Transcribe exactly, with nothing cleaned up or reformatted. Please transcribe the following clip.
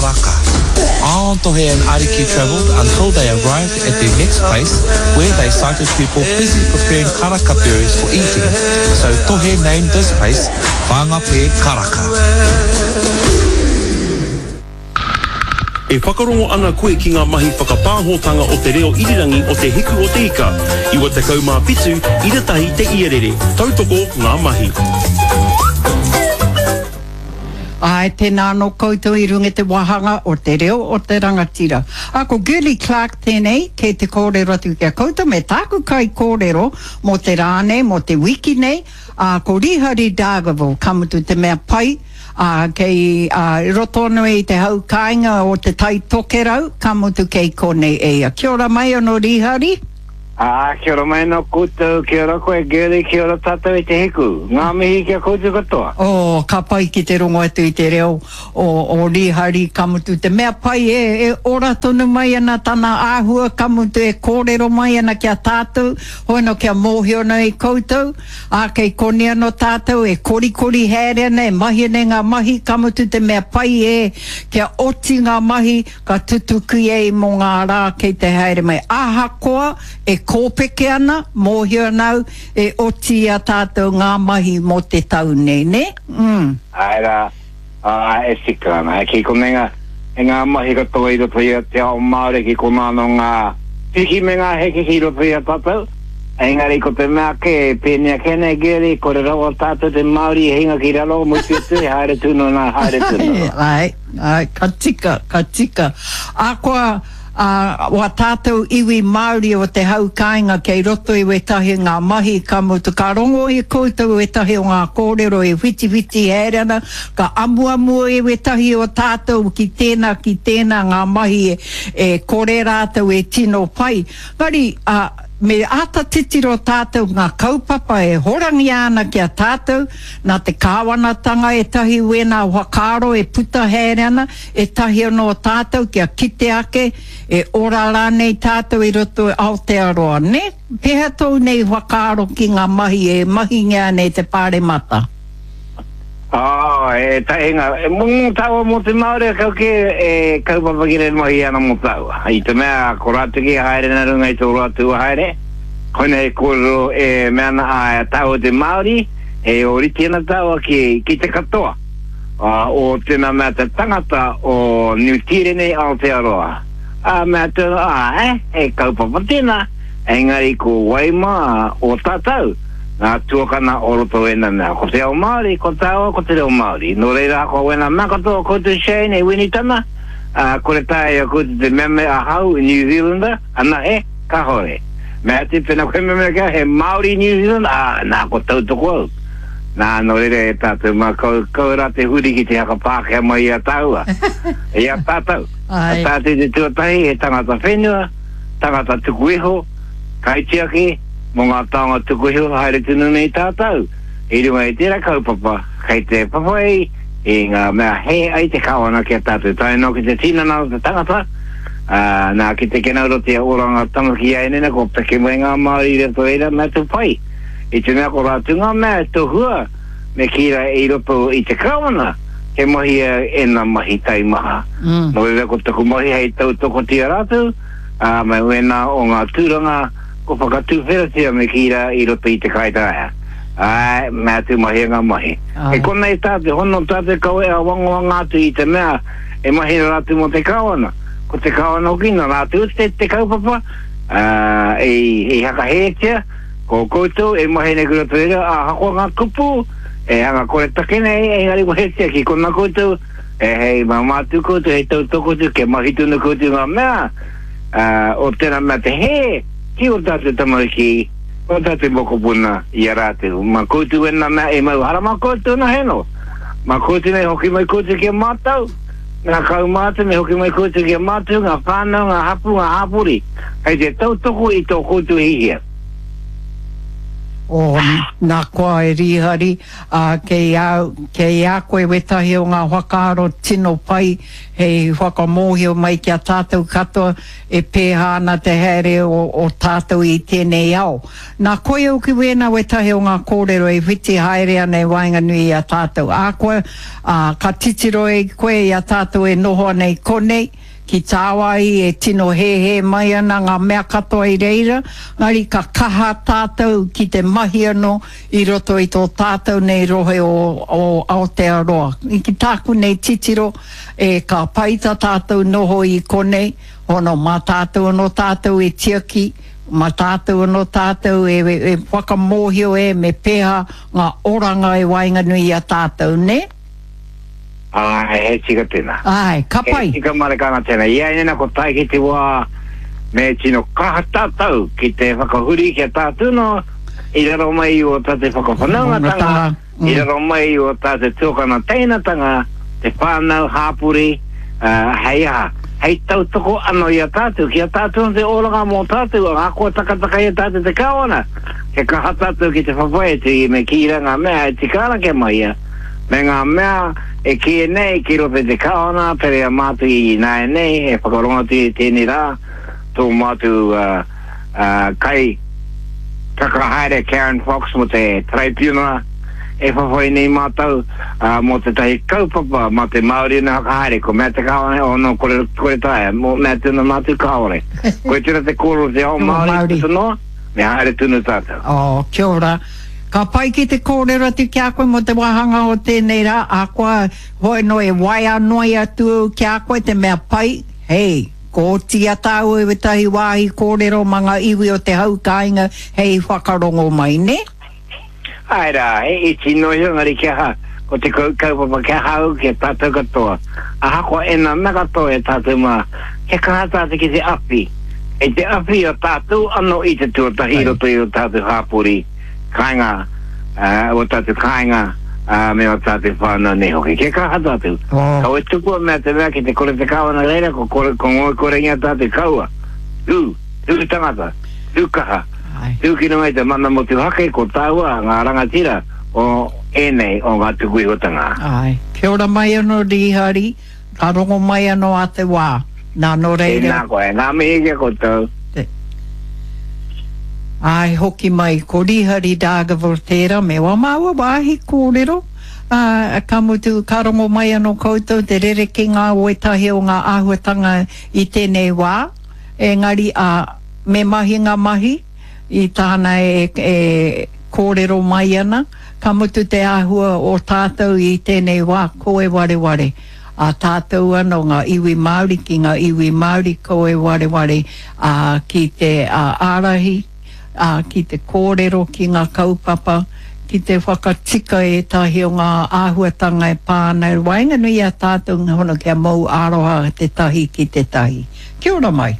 Karaka. On Tohe and Ariki travelled until they arrived at their next place where they sighted people busy preparing karaka berries for eating. So Tohe named this place Whangape Karaka. E whakarongo ana koe ki ngā mahi whakapāhotanga o te reo irirangi o Te Hiku o Te Ika. Iwa tekau mā whitu, ira tahi te iarere. Tautoko ngā mahi. Ai, tēnā anō koutou i runga i te wāhanga o te reo o te rangatira. A, ko Girlie Clarke tēnei, kei te kōrero atu ki a koutou me tāku kaikōrero mō te rā nei, mō te wiki nei, ā, ko Rihari Dargaville, ka mutu te mea pai, ā, kei, ā, i roto anō i te hau kāinga o Te Tai Tokerau, ka mutu kei konei e ia. Kia ora mai anō Rihari. Ā, kia ora mai anō koutou, kia ora koe Girlie, kia ora tātou e Te Hiku. Ngā mihi ki a koutou katoa. Oh, ka pai ki te rongo atu i te reo o, o Rihari, ka mutu te mea pai e, e ora tonu mai ana tana āhua, ka mutu e kōrero mai ana ki a tātou, hono kia mōhio nei koutou, ā, kei konei anō tātou e korikori haere ana, e mahi ana i ngā mahi, ka mutu te mea pai e, kia oti ngā mahi, ka tutuki ai mō ngā rā kei te haere mai. Ahakoa e kōpeke ana, mōhio ana au, e oti i a tātou ngā mahi mō te tau nei, nē? Mm. Āe rā, ā, e tika ana. Ki konei ngā, e ngā mahi katoa i roto i a te ao Māori ki konā anō ngā piki me ngā heke ki roto i a tātou. Engari ko te mea kē, e pēnei ake nei, Gary, kore rawa tātou te Māori e hinga ki raro, mutu atu e haere tunu ana, haere tunu ana. Āe, āe, ka tika, ka tika. Akoa, ā, wā tātou iwi Māori o te hau kāinga kei roto i wētahi ngā mahi, ka mutu, ka rongo i koutou wētahi o ngā kōrero e whitiwhiti haere ana, ka amuamu e wētahi o tātou ki tēnā, ki tēnā ngā mahi e, e kore rātou e tino pai. Engari, ā, me āta titiro tātou ngā kaupapa e horangia ana ki a tātou, nā te kāwanatanga ētahi wēnā whakaaro e puta haere ana, ētahi anō tātou kia kite ake e ora rānei tātou i roto i Aotearoa, nē? Pēhea tōu nei whakaaro ki ngā mahi e mahingia ana e te Pāremata? Oh, e tahi ngā, e mō tāua mō te Māori a kau kē e kaupapa ki rei mahi ana mō tāua. I te mea ko rātou kē haere nā runga i tō rātou haere, koinei he kōrero e mea ana a tāua te Māori, e ōrite ana tāua ki, ki te katoa o tēnā mea te tangata o Niu Tīreni Aotearoa. Ā, mea atu ana, āe, he kaupapa tēnā, engari ko wai mā o tātou? Ngā tuakana o roto wēnā mea. Ko te ao Māori, ko tāua, ko te reo Māori. Nō reira, ko wēnā mea katoa koutou Shane e Winitana, ā, kore taea i a koutou te mea me ahau New Zealander, anahe, kahore. Mea atu, pēnā koe mea mea ki au, he Māori New Zealand, ā, nā, ko tautoko au. Nā, nō reira e tātou mā, kau, kau rā te huri ki te haka Pākehā mai i a tāua, i a tātou. Ko tātou te tuatahi, he tangata whenua, tangata tuku iho, kaitiaki, Mō ngā taonga tuku iho haere tonu nei tātou i runga i tērā kaupapa kei te whawhai i ngā mea hē ai te kāwana ki a tātou tae noa ki te tinana o te tangata, ā, nā ki te kenaurotia oranga tamariki āianei kua peke mai ngā Māori i roto reira mea tū pai i te mea ko rātou ngā mea e tohua me kī rā i roto i te kāwana he mahia ēnā mahi taimaha. Nō reira ko taku mahi hei tautokotia rātou, ā, me wēnā o ngā tūranga Kua whakatuwheratia me kī rā i roto i te kaitaia. Āe, mea atu mahia ngā mahi. Kei konei tā te hono, tā te kawe āwangawanga atu i te mea e mahi ana rātou mō te Kāwana. Ko te Kāwana hoki nā rātou te, te kaupapa, ā, i, i hakahētia, ko koutou e mahi nei ki roto i reira, ahakoa ngā kupu e hanga koretake nei, engari wehetia ki kona koutou, e hei māmā atu koutou, hei tautoko atu, kia mahi tonu koutou i ngā mea, ā, o tēnā mea te hē ki ō tātou tamariki, ō tātou mokopuna i a rātou. Mā koutou ēnā mea e mau hara mā koutou nā heno. Mā koutou nei hoki mai koutou ki a mātou, ngā kaumātua me hoki mai koutou ki a mātou, ngā whānau, ngā hapū, ngā hāpori, hei te tautoko i tō koutou hihia. O nā koa e Rīhari, ā, kei a, kei a koe wētahi o ngā whakaaro tino pai hei whakamōhio mai ki a tātou katoa e pēhā ana te haere o, o tātou i tēnei ao. Nā koia hoki wēnā wētahi o ngā kōrero e whiti haere ana i waenganui i a tātou. Ā koa, ā, ka titiro e koe i a tātou e noho ana i konei, ki tāwāhi e tino hēhē mai ana ngā mea katoa i reira, engari ka kaha tātou ki te mahi anō i roto i tō tātou nei rohe o, o Aotearoa. Ki tāku nei titiro, e ka pai tā tātou noho i konei, hono mā tātou anō tātou e tiaki, mā tātou anō tātou e, e, e whakamōhio e me pēhā ngā oranga e waenganui i a tātou, nē? Āe, he tika tēnā. Āe, ka pai. He tika marika ana tēnā. I a ēnā ko tae ki te wā me tino kaha tātou ki te whakahuri ki a tātou no i raro mai i o tātou whakawhanaungatanga, i raro mai i o tātou tuakana teinatanga, te whānau, hāpori, uh, hei aha, hei tautoko ano i a tātou, ki a tātou no te oranga mō tātou, ahakoa takataka i a tātou te kāwana, kia kaha tātou ki te whawhai atu i me kī rā ngā mea e tika ana kia mahia, me ngā mea e kīia nei ki roto i te kāwana, pērā i a mātou i ināianei, e whakarongo atu i tēnei rā, tō mātou kai whakahaere Karen Fox mō te Taraipiunara, e whawhai nei mātou mō tētahi kaupapa mā te Māori ana whakahaere, ko mea te kāwana, oh no, kore, kore taea, mō mea tēnā mātou kāore. Koe tērā te kōrero o te ao Māori, puta noa. Me haere tonu tātou. Oh, kia ora. Ka pai ki te kōrero atu ki a koe mō te wāhanga o tēnei rā, ahakoa hoi noa e waea noa atu au ki a koe te mea pai, hei, ko oti a tāua i wētahi wāhi kōrero mā ngā iwi o te hau kāinga hei whakarongo mai, nē? Āe rā, he iti noa iho engari kia aha, ko te kaupapa kia hau, kia tātou katoa. Ahakoa ēnā mea katoa e tātou mā, kia kaha tātou ki te awhi, kei te awhi a tātou anō i te tuatahi i roto i ō tātou hāpori, kāinga, ō tātou kāinga, me ō tātou whānau nei hoki. Kia kaha tātou. Kaua e tukua mea te mea ki te kore te kāwana reira, ko kore, ko ngoikorengia tātou, kaua. Tū, tū tangata, tū kaha, tū ki runga i te mana motuhake, ko tāua ngā rangatira o ēnei o ngā tukuihotanga. Āe. Kia ora mai anō Rīhari, ka rongo mai anō a te wā. Nā, nō reira. Tēnā koe. Ngā mihi ki a koutou. Te. Āe, hoki mai. Ko Rīhari Dargaville tērā me wā māua wāhi kōrero. Ā, ka mutu, ka rongo mai anō koutou te rerekēnga o ētahi o ngā āhuatanga i tēnei wā. Engari, ā, me mahi ngā mahi i tāna e, e kōrero mai ana. Ka mutu te āhua o tātou i tēnei wā, ko e wareware. A tātou anō ngā iwi Māori ki ngā iwi Māori ko e wareware, ā, ki te ārahi, ā, ki te kōrero ki ngā kaupapa, ki te whakatika ētahi o ngā āhuatanga e pā ana i waenganui i a tātou ngā hono kia mau aroha tētahi ki tētahi. Kia ora mai.